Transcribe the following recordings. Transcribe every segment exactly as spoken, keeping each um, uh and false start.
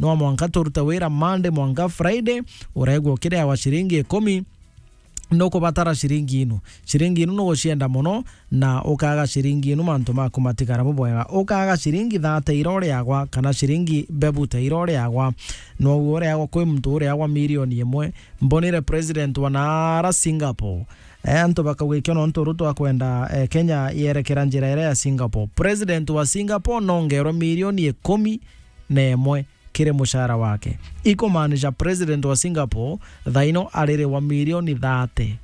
no mwanka turute wira Monday mwanka Friday, uregwa ukiriagwa ciringi ikumi, nukubatara ciringi inu. Ciringi inu nugucienda mono, na ukaga ciringi inu mantu maku matigara bubwega. Ukaga ciringi thate ira uriagwa, kana ciringi bebu ta ira uriagwa. Nwogu uriagwa kwi muntu uriagwa milioni imwe. Mbonire president wa nara Singapore. Eh, antu bakauga ikio nontu Ruto akwenda, eh, Kenya yerekera njira iria ya Singapore. President wa Singapore nongerwe milioni ikumi na imwe kiri mucara wake. Ikumaanisha president wa Singapore thaino aririwa milioni thate.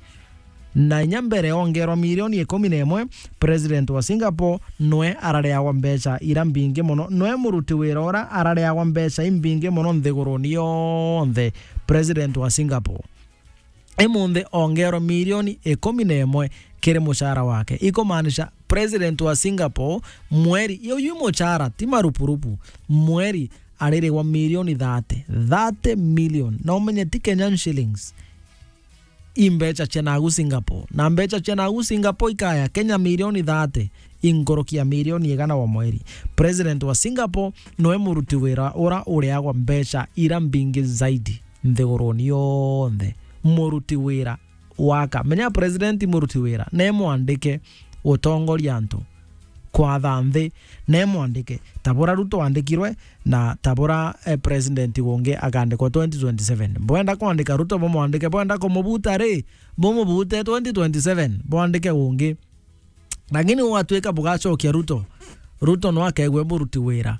Na inya mbere ongerwa milioni ikumi na imwe, president wa Singapore nwe arariagwa mbeca ira mbingi mono, nwe muruti wira ura arariagwa mbeca imbingi mono nthiguruni yonthe, president wa Singapore. Imunthi ongerwa milioni ikumi na imwe kiri mucara wake. Ikumaanisha president wa Singapore mweri, iyo yu mucara, ti marupurupu, mweri aririgwa milioni thate. Thate million. Na umenye ti Kenyan shillings. I mbeca cia nagu Singapore. Na mbeca cia nagu Singapore ikaya Kenya milioni thate. Inkuruki ya milioni igana wa mweri. President wa Singapore noe muruti wira ura uriagwa mbeca ira mbingi zaidi nthiguruni yonthe. Muruti wira waka. Menya president muruti wira, ne mwandike gutongoria antu, kwatha nthi, ne mwandike. Tabura Ruto wandikirwe, na tabura, eh, president gungi akandikwa twenty twenty-seven. Bwenda kwandika Ruto bumwandike, bwenda kumubuta ri, bumubute twenty twenty-seven, bwandike gungi. Lakini ugatuika bugacokia Ruto, Ruto no akegwe muruti wira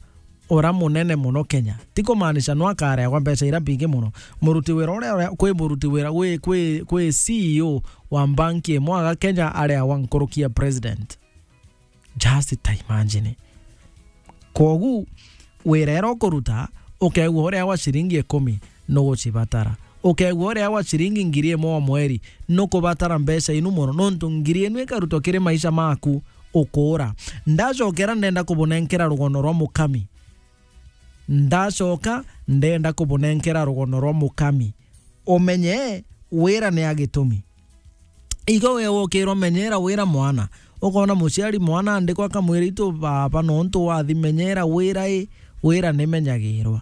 ura munene muno Kenya. Ti kumaanisha no akareagwa mbeca ira mbingi muno. Muruti wira uria, uria, kwi muruti wira, kwi, kwi, kwi C E O wa banki imwe aga Kenya areagwa nkuruki ya president. Just imagine. Kwogu, wira ira ukuruta, ukegua uria wa ciringi ikumi, nugucibatara. Ukegua uria wa ciringi ngiri imwe o mweri, nukubatara mbeca inu mono, nontu ngiri inu ikarutwa kiri maisha maku ukuura. Ndacokera ndenda kubunenkera rugono rwa mukami. Ndacoka ndenda kubunenkera rugono rwa mukami. Umenye wira ni a gitumi. Igo we wokirwa menyera wira mwana. Ukona muciari mwana andikwa akamwira, "Itu baba, nontu wathi menyera wira i, wira ni menyagirwa."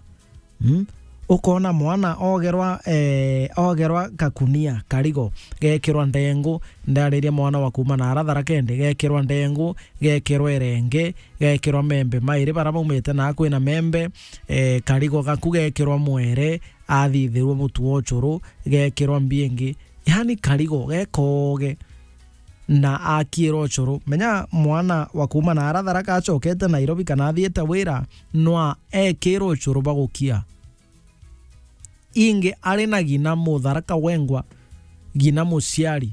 Mm? Ukona mwana ogerwa, eh, ogerwa kakunia, karigo, gekirwa ndengu, ndariria mwana wa kuuma na ara Tharaka Nithi, gekirwa ndengu, gekirwa irenge, gekirwa membe mairi bara baumite na kwina membe, eh, karigo gaku gekirwa mwere, athithirwe mutu wa ucuru, gekirwa mbiengi, yani karigo gekoge, na akirwa ucuru. Menya mwana wa kuuma na ara Tharaka acokete Nairobi kana athiite wira, nwa ekirwe ucuru bagukia. Ingi ari na gina mutharaka wengwa, gina muciari,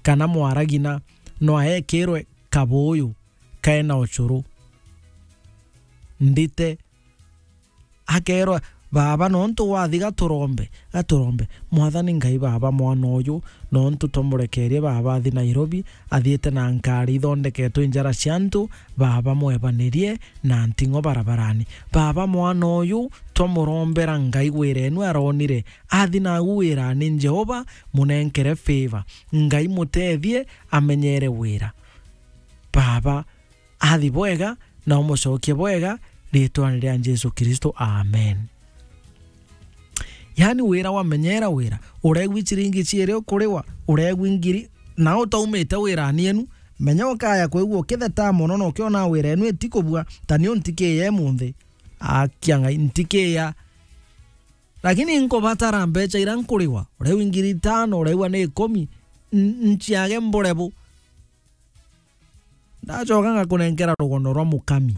kana mwara gina, nwa ekirwe kabuyu kaena ucuru. Ndite akerwa, "Baba, nontu wathi gaturombe, gaturombe. Mwathani Ngai, baba, mwana uyu, nontu twamurekerie, baba, athi Nairobi, athiite na nkari ithondeketwe i njara cia antu, baba, mwebanirie na nting'o barabarani. Baba, mwana uyu, twamurombera Ngai, wira enu aronire, athi nagu wirani, Jehova, munenkere favor. Ngai, mutethie, amenyere wira." Baba, athi bwega, na umucokie bwega, ritwani ria Jesu Kristo. Amen. Yani, wira wamenyera wira, uregwi ciringi ciiri ukuriwa, uregwi ngiri, na utaumite wirani enu, menya ukaya kwigua ukitheta mono na ukiona wira enu itikubua, ta ni untikiya imunthi. Akia Ngai, ntikiya. Lakini nkubatara mbeca ira nkuriwa, uregwi ngiri itano, uregwa ni ikumi, n-, nciage mbure bu. Ndacoka ngakunenkera rugono rwa mukami.